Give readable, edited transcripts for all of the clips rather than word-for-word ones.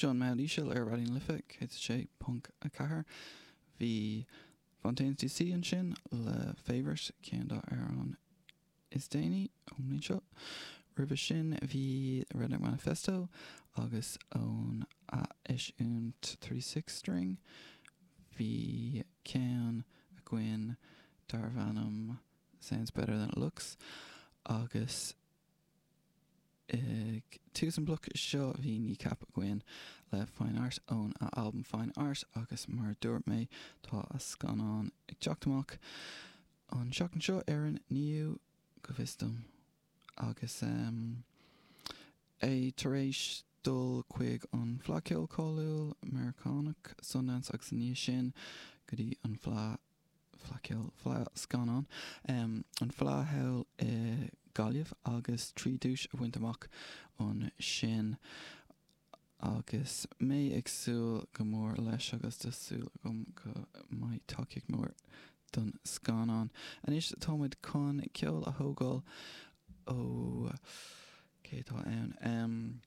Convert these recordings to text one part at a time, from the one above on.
Seo an Meall Íseal ar Raidió na Life 106.4. Bhí Fontaines DC ansin le Favourite, ceann dá amhráin is déanaí ón mbliain seo. Roimhe sin bhí Redneck Manifesto agus ón ath-eisiúint 36 String bhí ceann againn darbh ainm Sounds Better Than It Looks agus Ag tús an bhloic seo bhí Kneecap againn le Fine Art ón a albam Fine Art agus mar a dúirt mé tá a scannán ag teacht amach an seachtain seo ar an 9ú go bhfios dom agus é tar éis dul chuig an Fleadh Ceoil cáiliúil Meiriceánach Sundance agus i ndiaidh sin go dtí an Fleadh Fleadh Ceoil, Fleadh Scannán, an Fleadh thall i Gaillimh agus 3 duais a bhaint amach ansin agus mé ag súil go mór leis agus tá súil agam go mbeidh tacaíocht mór don scannán. Anois táimid chun ceol a thógáil ó cé atá ann?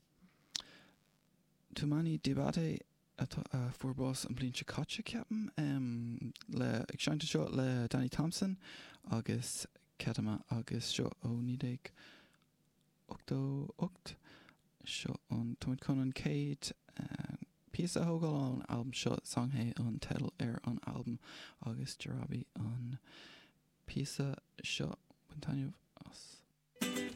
Toumani Diabaté atá, a fuair bás an bhliain seo caite, ceapaim, le, ag seinnt anseo le Danny Thompson agus Kedama agus seo ó 1988. Seo an, táimid chun an chéad píosa a thógáil ón albam seo, Songhay an teideal ar an albam agus Jarabi an píosa seo. Bain taitneamh as.